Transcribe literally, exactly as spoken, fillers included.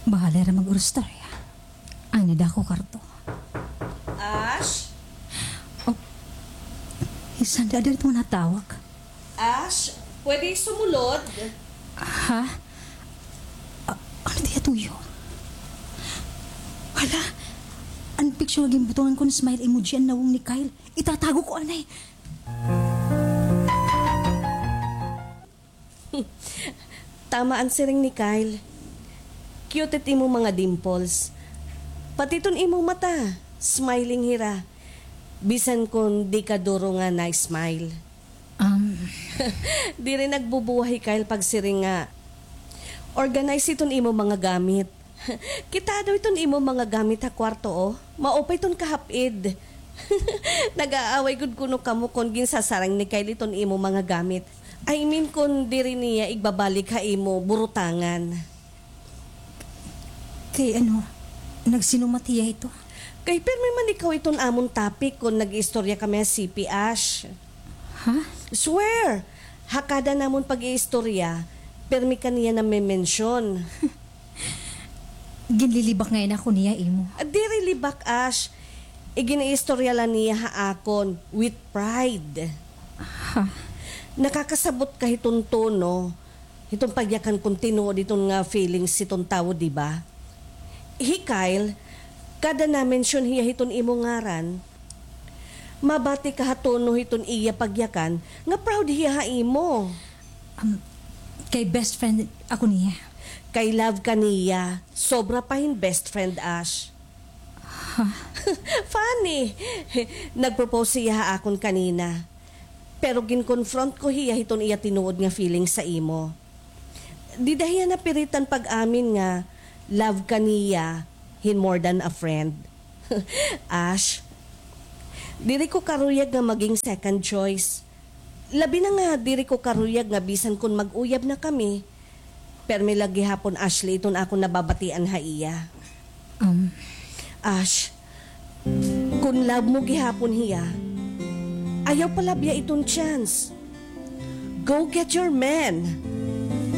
Bahala hira mag-urustorya. Ay, nida ko karto. Ash? Oh, hi Sandra, ada ito natawag. Ash, pwede sumulod? Ha? Ah, ano tiya tuyo? Hala, an picture nga ginbutongan ko hin smile emoji an nawong ni Kyle. Itatago ko anay. Tama an siring ni Kyle. Cute it imo mga dimples. Pati iton imo mata, smiling hira. Bisan kon di ka duro nga na-smile. Um. Diri nagbubuwa hi Kyle pagsiring nga, organize iton imo mga gamit. Kita daw iton imo mga gamit ha kwarto, oh. Maupay iton kahap-id. Nag-aaway gud kuno kamo kon ginsasarang ni Kyle iton imo mga gamit. I mean, kon diri niya igbabalik ha imo burutangan. Kay ano, nagsinumat hiya ito? Kay pirmi man ikaw iton amon topic kon nag-iistorya kami ha C P, Ash. Ha? Swear! Ha kada namon pag-iistorya, pirmi ka niya name-mention. Ginlilibak ngay-an ako niya imo. Ah, diri libak, Ash. Iginiistorya la niya ha akon with pride. Ha? Nakakasabot ka hiton tono, hiton pagyakan kon tinuod iton nga feelings hiton tawo, di ba? Hi Kyle, kada na-mention hiya hiton imo ngaran, mabati ka ha tono hiton iya pagyakan nga proud hiya ha imo. Um, kay best friend ako niya. Kay love ka niya, sobra pa hin best friend, Ash. Ha? Funny! Nag-propose hiya ha akon kanina. Pero gin-confront ko hiya hiton iya tinuod nga feelings sa imo. Dida hiya napiritan pag-amin nga love ka niya hin more than a friend. Ash, diri ko karuyag nga maging second choice. Labi na nga diri ko karuyag nga bisan kon mag-uyab na kami, pirmi la gihapon, Ashley, iton akon nababatian ha iya. Um. Ash, kon love mo gihapon hiya, ayaw palabya iton chance. Go get your man.